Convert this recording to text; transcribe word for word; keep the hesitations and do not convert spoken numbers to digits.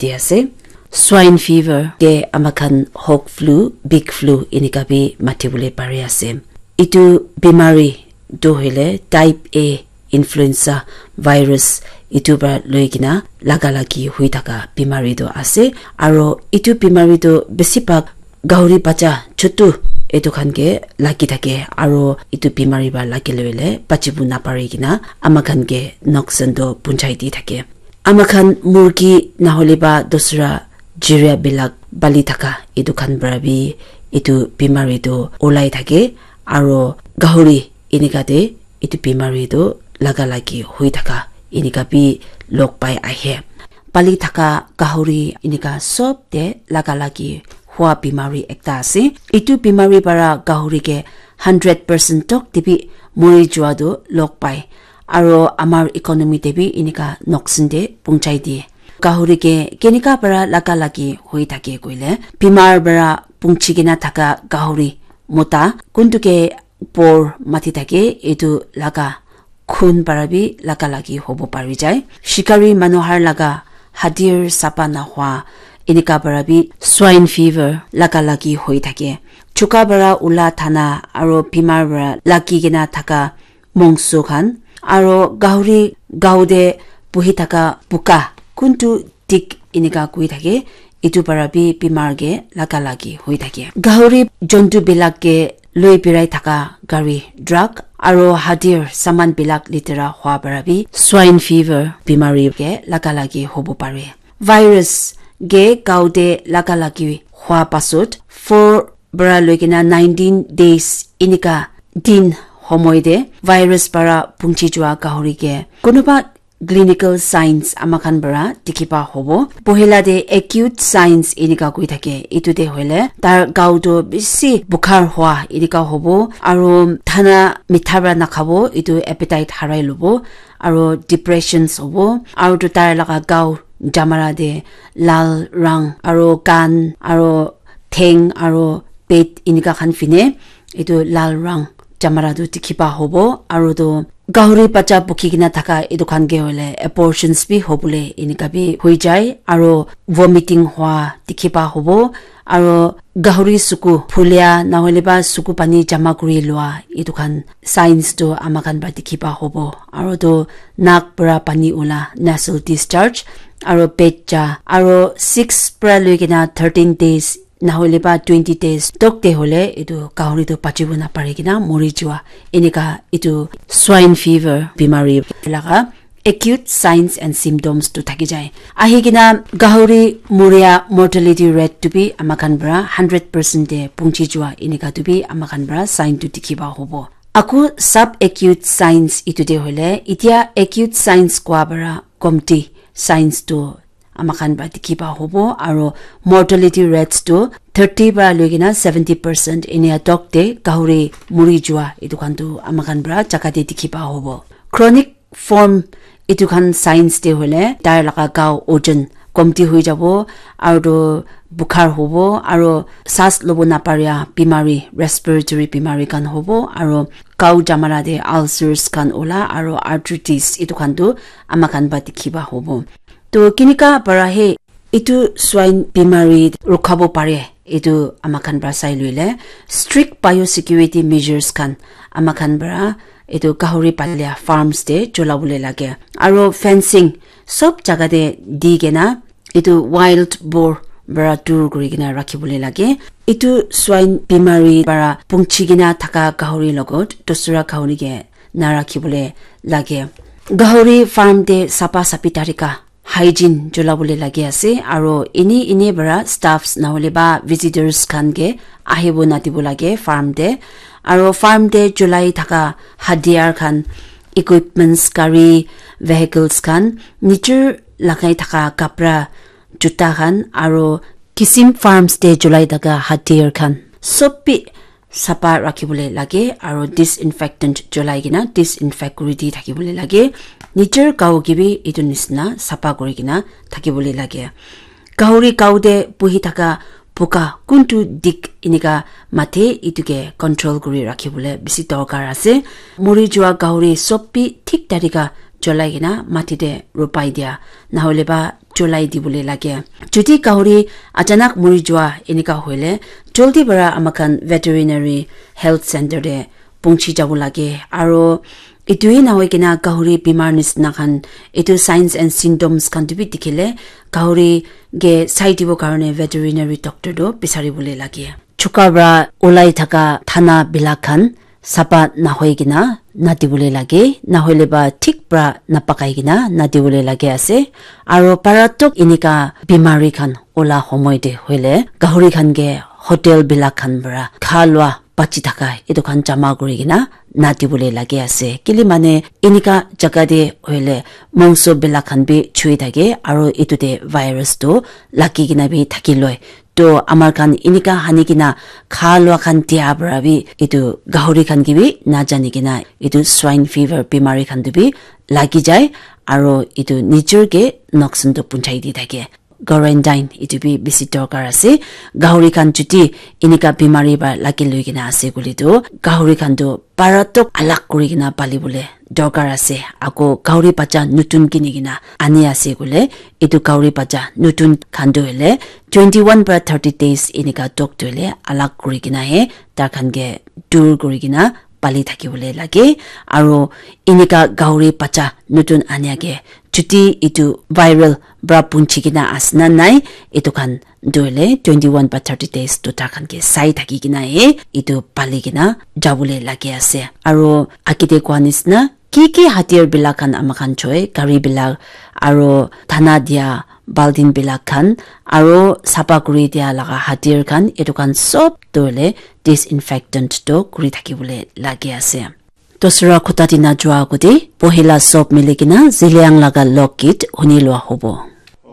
di ase. Swine fever ke amakhan hog flu, big flu enika bi mati bole pari ase. Itu bimari tu hoile type A influenza virus itu para loi kena laga lagi hui thaka bimari tu ase. Aro itu bimari tu besi bhag gahuri bacha chutu etu khan ke lagi thake, aro etu bimari para lagi le hoile bachibo napari kena ama khan ke noksan toh punchai di thake. Ama khan murgi nahole ba dusra jiria bilak bali thaka etu khan para bi etu bimari toh ulai thake, aro gahuri enika te etu bimari toh laga lagi hui thaka enika bi log pai ahe. Pali thaka gahuri enika sob te laga lagi hua bimari ekta ase. Etu bimari para gahuri ke hundred percent tok te bi mori jua toh log pai. Aro amar economy te bi enika noksan te punchai di. Gahuri ke kenika para laga lagi hui thake koile, bimar para punchi kena thaka gahuri mota kuntu ke por mati thake, etu laga khun para bi laga lagi hobo pari jai. Shikari manu har laga hadir sapa nahua enika para bi swine fever laga lagi hoi thake. Chuka para ula thana aro bimar para lagi kena thaka mongso khan aro gahuri gao te buhi thaka buka kuntu tik enika koi thake, etu para bi bimar ke laga lagi hoi thake. Gahuri jontu bilak ke loi birai thaka gari, truck aro hadir saman bilak litera hua para bi swine fever bimari ke laga lagi hobo pare. Virus ke gao te laga lagi hua pasot four para loi kena nineteen days enika din homoi te virus para punchi jua gahuri ke kunuba clinical signs ama khan para dikhi pa hobo. Pohila te acute signs enika koi thake. Etu te hoile tar gao toh bisi bukhar hua enika hobo, aro thana mitha para nakhabo, etu appetite harai lobo, aro depressions hobo, aro toh tar laga gao jamara te lal rang aro kan aro theng aro pet enika khan fine etu lal rang jamara tu dikhi pa hobo, aro tu gahuri bacha bukhi kena thaka etu khan ke hoile abortions bi hobole enika bi hoi jai, aro vomiting hua dikhi pa hobo, aro gahuri suku phulia nahole ba suku pani jama kuri lua etu khan signs tu ama khan para dikhi pa hobo, aro tu nak para pani ula nasal discharge, aro pet ja, aro six para loi kena thirteen days nahole ba twenty days tok te hole etu gahuri tu bachibo napari kena mori jua. Enika etu swine fever bimari laga acute signs and symptoms tu thaki jai. Ahi kena gahuri muria mortality rate tu bi ama khan para hundred percent te punchi jua enika tu bi ama khan para sign tu dikhi pa hobo. Aku sub acute signs etu te hole, itia acute signs kwa para komti signs tu ama khan para dikhi pa hobo, aro mortality rates tu thirty para loi kena seventy percent enia tok te gahuri muri jua etu khan tu ama khan para jaga te dikhi pa hobo. Chronic form etu khan signs te hole tar laga gao ojon komti hoi jabo, aro tu bukhar hobo, aro saas lobo naparia bimari, respiratory bimari khan hobo, aro gao jamara te ulcers khan ula, aro arthritis etu khan tu ama khan para dikhi pa hobo. To kinika para he etu swine bimari rukhabo pare, etu ama khan para sai loile strict biosecurity measures khan ama khan para etu gahuri palia farms te chola bole lage, aro fencing sob jaga te di kena etu wild boar para dur kuri kena rakhi bole lage. Etu swine bimari para punchi kena thaka gahuri logot dusra gahuri ke na rakhi bole lage. Gahuri farm te sapa sapi tarika hygiene chola bole lage ase, aro ene ene para staffs nahole ba visitors khan ke ahibo nadibo lage farm te, aro farm te cholai thaka hadiar khan, equipments, gari, vehicles khan, nijor lagai thaka kapra, juta khan, aro kisim farms te cholai thaka hadiar khan sob bi sapa rakhi bole lage, aro disinfectant cholai kena disinfect kuri di thaki bole lage. Nijor gao ke bi etu nisna sapa kuri kena thaki bole lage. Gahuri gao te buhi thaka buka kuntu dik enika mate etu ke control kuri rakhi bole bisi dorkar ase. Muri jua gahuri sob bi thik tarika cholai kena mati te rupai dia, nahole ba cholai dibole lage. Jodi gahuri achanak mori jua enika hoile, joldi para amakhan veterinary health center te punchi jabo lage. Aro etu hi nahoi kena gahuri bimar nisna khan, etu signs and symptoms khan tu bi dikhile, gahuri ke sai dibo karne veterinary doctor tu bisari bole lage. Chuka para ulai thaka thana bilak khan sapa nahoi kena nadibole lage, nahoile ba thik para napakai kena nadibole lage ase. Aro paratok enika bimari khan ola homoi te hoile, gahuri khan ke hotel bilak khan para kha lua bachi thaka etu khan jama kuri kena nadibole lage ase. Kile mane enika jaga te hoile mongso bilak khan bi chui thake, aro etu te virus tu lagi kena bi thaki loi. To amar khan enika hani kena kha lua khan dia para bi etu gahuri khan ke bi najani kena etu swine fever bimari khan tu bi lagi jai, aro etu nijor ke noksan tu punchai di thake. Quarantine etu bi bisi dorkar ase. Gahuri khan jodi enika bimari para lagi loi kena ase koile tu, gahuri khan tu paratok alag kuri kena pali bole dorkar ase. Ako gahuri bacha nutun kini kena ani ase koile, etu gahuri bacha nutun khan tu hoile twenty one para thirty days enika tok tu hoile alag kuri kena he tar khan ke dur kuri kena pali thaki bole lage. Aro enika gahuri bacha nutun ania ke jodi etu viral para punchi kena ase na nai, etu khan tu hoile twenty one para thirty days tu tar khan ke sai thaki kena he etu pali kena jabole lage ase. Aro age te koa nisna ki ki hatiyar bilak khan ama khan choi, gari bilak, aro thana dia baltin bilak khan, aro sapa kuri dia laga hatiyar khan, etu khan sob tu hoile disinfectant tu kuri thaki bole lage ase. Dosra khuta dina jua agute pohila sob mili kena Zeliang laga lok git huni lua hobo.